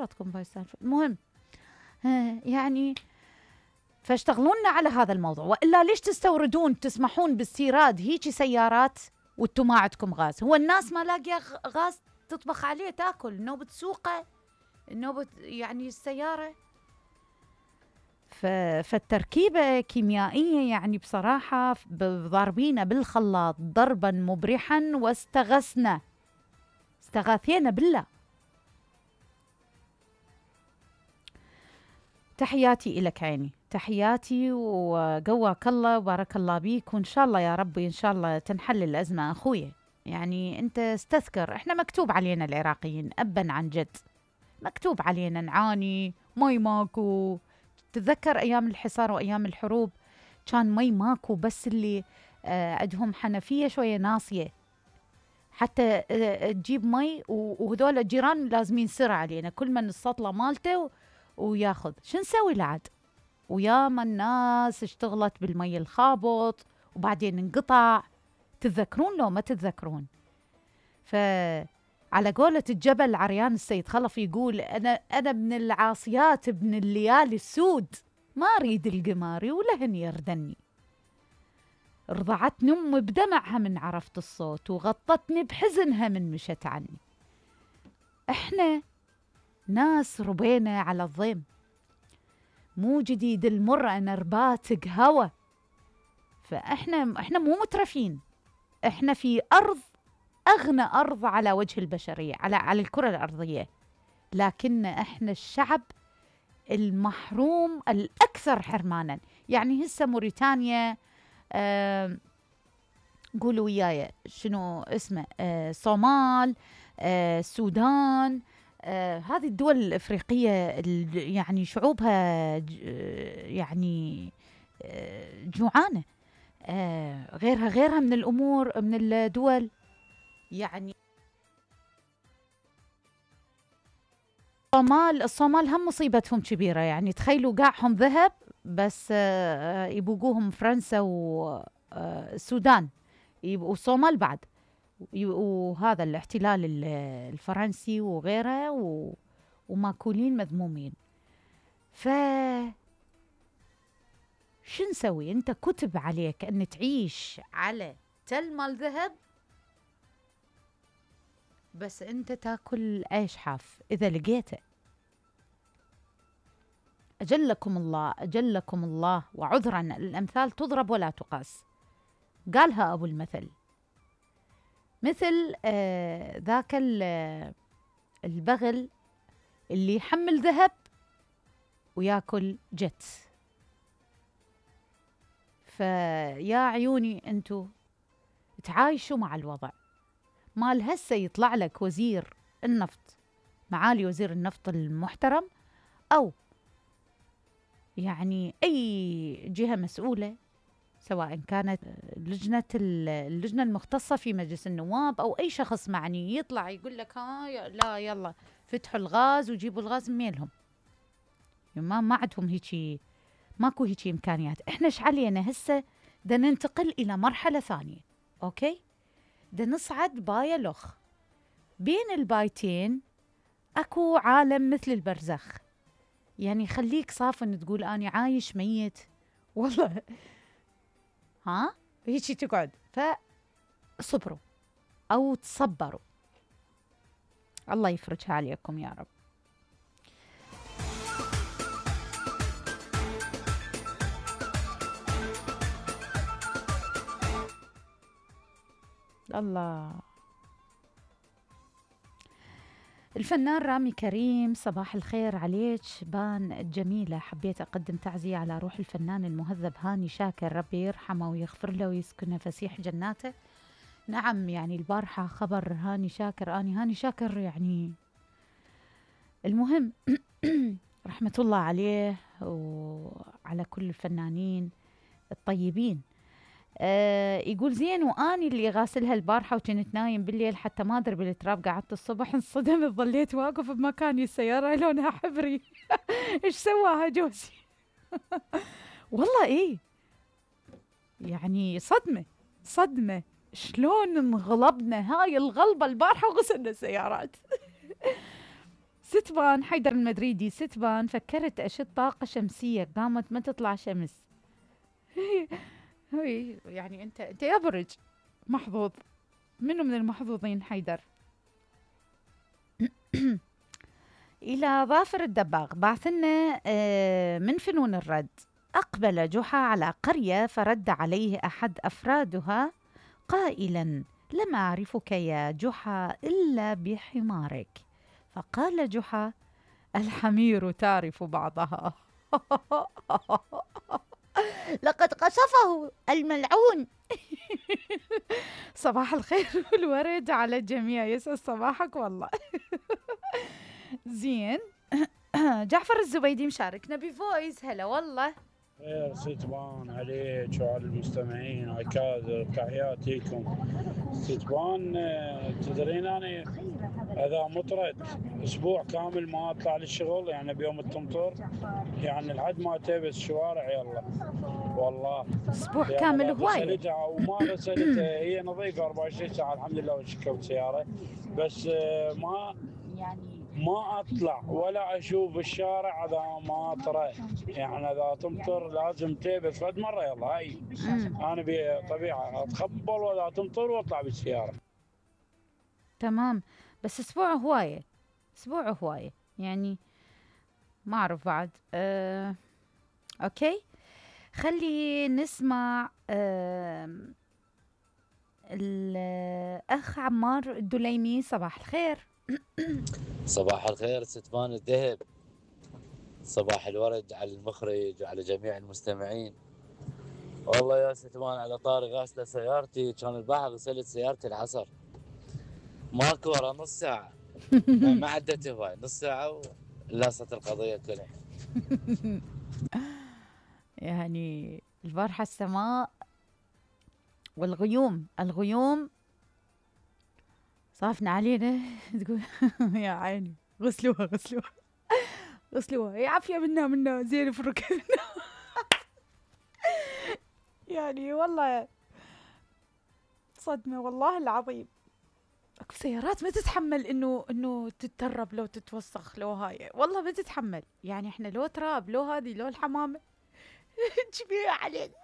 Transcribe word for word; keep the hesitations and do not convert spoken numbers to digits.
سيارتكم باي السالفة. المهم يعني فاشتغلونا على هذا الموضوع، وإلا ليش تستوردون تسمحون باستيراد هيجي سيارات وانتم ما عندكم غاز؟ هو الناس ما لاقيه غاز تطبخ عليه تاكل، نوبة سوقه نوبة يعني السيارة. فالتركيبة كيميائية يعني بصراحة ضاربينا بالخلاط ضربا مبرحا واستغثنا استغاثينا بالله. تحياتي إلك عيني، تحياتي وقواك الله وبارك الله بيك، وإن شاء الله يا ربي إن شاء الله تنحل الأزمة أخويا. يعني أنت استذكر إحنا مكتوب علينا العراقيين أبا عن جد، مكتوب علينا نعاني، مي ماكو. تتذكر أيام الحصار وأيام الحروب كان مي ماكو، بس اللي آه عندهم حنفية شوية ناصية حتى آه تجيب مي، وهذول الجيران لازمين سرعة علينا، كل من السطلة مالته وياخذ. شو نسوي لعد؟ وياما الناس اشتغلت بالمي الخابط وبعدين انقطع. تتذكرون لو ما تتذكرون؟ فعلى قولة الجبل عريان السيد خلف يقول أنا أنا ابن العاصيات ابن الليالي السود، ما أريد القماري ولهن يردني. رضعتني أمي بدمعها من عرفت الصوت، وغطتني بحزنها من مشت عني. إحنا ناس ربينا على الضيم، مو جديد المر أنا رباتق هوا. فإحنا إحنا مو مترفين، إحنا في أرض أغنى أرض على وجه البشرية، على على الكرة الأرضية، لكن إحنا الشعب المحروم الأكثر حرمانا. يعني هسه موريتانيا آه قولوا وياي شنو اسمه، آه صومال، آه السودان، آه هذه الدول الإفريقية يعني شعوبها يعني آه جوعانة. آه غيرها غيرها من الأمور من الدول. يعني الصومال الصومال هم مصيبتهم كبيرة، يعني تخيلوا قاعهم ذهب بس آه يبوقوهم فرنسا والسودان، يبقوا الصومال بعد، وهذا الاحتلال الفرنسي وغيره، وماكولين مذمومين. ف شو نسوي؟ انت كتب عليك ان تعيش على تل مال ذهب، بس انت تاكل عيش حاف اذا لقيته. اجلكم الله اجلكم الله، وعذرا الامثال تضرب ولا تقاس، قالها ابو المثل. مثل آه ذاك البغل اللي يحمل ذهب وياكل جت. فيا عيوني انتو تعايشوا مع الوضع. مال هسه يطلع لك وزير النفط، معالي وزير النفط المحترم، أو يعني أي جهة مسؤولة، سواء كانت لجنة اللجنة المختصة في مجلس النواب أو أي شخص معني، يطلع يقول لك ها لا يلا فتحوا الغاز وجيبوا الغاز ميلهم. ما ما عندهم هيجي، ماكو هيجي إمكانيات. إحنا إيش علينا هسه؟ دا ننتقل إلى مرحلة ثانية، أوكي؟ دا نصعد باية لخ، بين البايتين أكو عالم مثل البرزخ. يعني خليك صافن تقول أنا عايش ميت والله، ها هيجي تقعد. فصبروا أو تصبروا، الله يفرجها عليكم يا رب. الله. الفنان رامي كريم، صباح الخير عليك بان الجميلة. حبيت أقدم تعزية على روح الفنان المهذب هاني شاكر، ربي يرحمه ويغفر له ويسكنه فسيح جناته. نعم يعني البارحة خبر هاني شاكر، أني هاني شاكر يعني المهم رحمة الله عليه وعلى كل الفنانين الطيبين. آه يقول زين، واني اللي غاسلها البارحه وكنت نايم بالليل حتى ما ادري بالتراب، قعدت الصبح انصدمت ظليت واقف بمكاني، السياره لونها حبري. ايش سواها جوزي؟ والله ايه يعني صدمه صدمه، شلون انغلبنا هاي الغلبه البارحه وغسلنا السيارات. ستبان حيدر المدريدي، ستبان فكرت أشد طاقة شمسية قامت ما تطلع شمس. هي يعني أنت أنت يا برج محظوظ. منو من المحظوظين حيدر؟ إلى ظافر الدباغ بعثنا آه، من فنون الرد. أقبل جحا على قرية فرد عليه أحد أفرادها قائلا: لم أعرفك يا جحا إلا بحمارك. فقال جحا: الحمير تعرف بعضها. لقد قصفه الملعون. صباح الخير والورد على الجميع، يسعد صباحك والله. زين. جعفر الزبيدي مشاركنا بفويس. هلا والله. خير ستبان عليك وعلى المستمعين عكاذر، تحياتي لكم. ستبان آه، تدرين أنا إذا مطرت أسبوع كامل ما أطلع للشغل، يعني بيوم التمطر، يعني لحد ما تبس الشوارع يلا والله. أسبوع يعني كامل إذا هواية. غسلتها أو ما غسلتها هي نظيفة أربعة وعشرين ساعة الحمد لله وركبت سيارة، بس آه، ما ما اطلع ولا اشوف الشارع اذا ما طرى، يعني اذا تمطر لازم تبس فد مره يلا هاي. مم. انا بطبيعه اتخبل واذا تمطر واطلع بالسياره. تمام. بس أسبوع هواية، أسبوع هواية يعني ما أعرف بعد. أه... أوكي، خلي نسمع أه... الأخ عمار الدليمي. صباح الخير. صباح الخير ستبان الذهب، صباح الورد على المخرج وعلى جميع المستمعين. والله يا ستبان على طاري غاسلة سيارتي، كان البارحة غسلت سيارتي العصر، ماكو ورا نص ساعة. ما ما عدت هواي، نص ساعة ولاصت القضية كلها. يعني البارحة السماء والغيوم، الغيوم صافنا علينا. تقول يا عيني غسلوها غسلوها غسلوها، يا عافية منا منا زين في الركب. يعني والله صدمة والله العظيم. اكو سيارات ما تتحمل انه انه تترب لو تتوسخ لو هاي، والله ما تتحمل. يعني احنا لو تراب لو هذه لو الحمامة. تشبيه علينا.